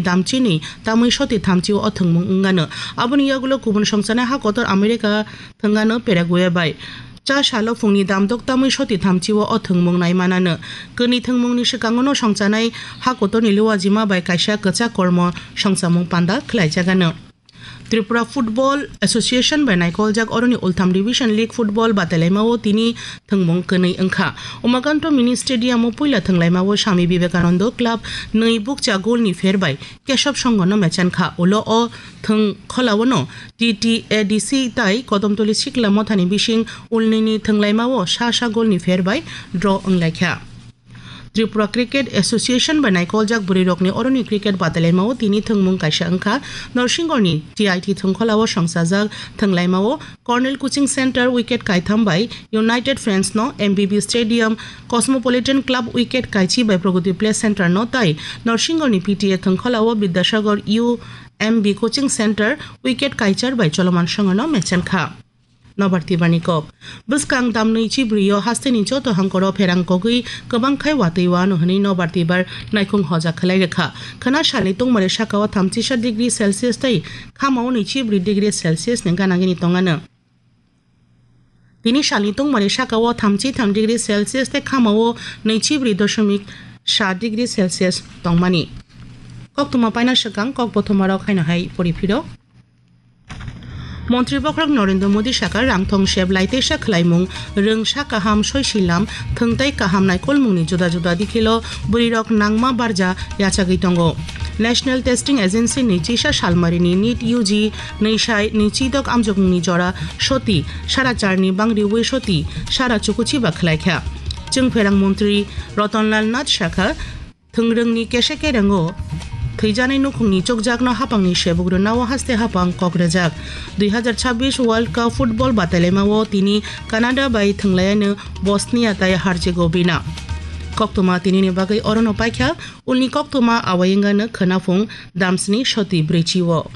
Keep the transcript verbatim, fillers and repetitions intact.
damchini tamwi soti thamchi o thwngmung wngano. Aboni yagulo kubun songchana ha kotor America thwngano Paraguay bai. Cha salo phungni damdok tamwi soti thamchi o thwngmung naimanano. Kwnwi thwngmungni swkango no songchanai ha kotorni luwajima bai kaisa kwchak kormo songchamung panda khlaijagano. Tripura Football Association bai naikoljak oroni ultham Division League Football batailaimao tini thwngmung kwnwi wngkha. Umakanto Mini Stadium o puila thwnglaimao Swami Vivekananda Club nwi bukcha goal ni pher bai Kesab Songho no mechankha. Ulo o thwng kholao no T T A D C tai Kodomtoli Sikla Mothani bising ulnini thwnglaimao sa sa goal ni pher bai draw wnglaikha. Tripura Cricket Association bai naikoljak bwrwirokni oroni cricket batailaimao tini thwngmung kaisa wngkha. Norsingorni T I T thwngkholao songchajak thwnglaimao Cornell Coaching Center wicket kaitham bai United Friends no, M B B Stadium Cosmopolitan Club wicket kaichi bai Pragati Play Center no tai Norsingorni P T A thwngkholao Bidyasagar U M B Coaching Center wicket kaichar bai Choloman Songho no mechankha. Nobar Tibarni kok. Bwskang damnwi chibrio hasteni joto hangkoro pherang kogwi kwbang khai watwi wano hwnwi Nobar Tibar naikhung hoja khlai rwkha. Khwna salni tungmari sakao thamchisa degree Celsius tei khamao nwichibri degree Celsius ni gana gini tongano. Tini salni tungmari sakao thamchi tham degree Celsius tei khamao nwichibri doshomik sa degree Celsius tongmani. Koktwma paina swkang kok bothomarok haino hai pori phiro. Montri Bokhorok Narendra Modi saka rangthong sep lai teisa khwlaimung, rwngsa kaham, soisilam, thwngtai kaham naikolmungni juda juda dikhilo bwrwirok nangma barja yachagwi tongo. National Testing Agency ni chisa salmarini NEET U G nwi sai nwi chidok amjokmungni jora soti sara charni bangriwi soti sara chukuchiba khwlaikha. Chwngpherang montri Ratanlal Nath sakha, thwngrwngni kese kerengo thwijanai nukhungni chukjakno hapangni sebuk rwnao haste hapang kok rwjak. Dui hazar chabbish World Cup football batailaimao tini Canada bai thwnglayano Bosnia tai Herzegovina. Koktwma tinini bagwi orono paikha, ulni koktwma awai wngano khwnaphung damsni soti brwichi o.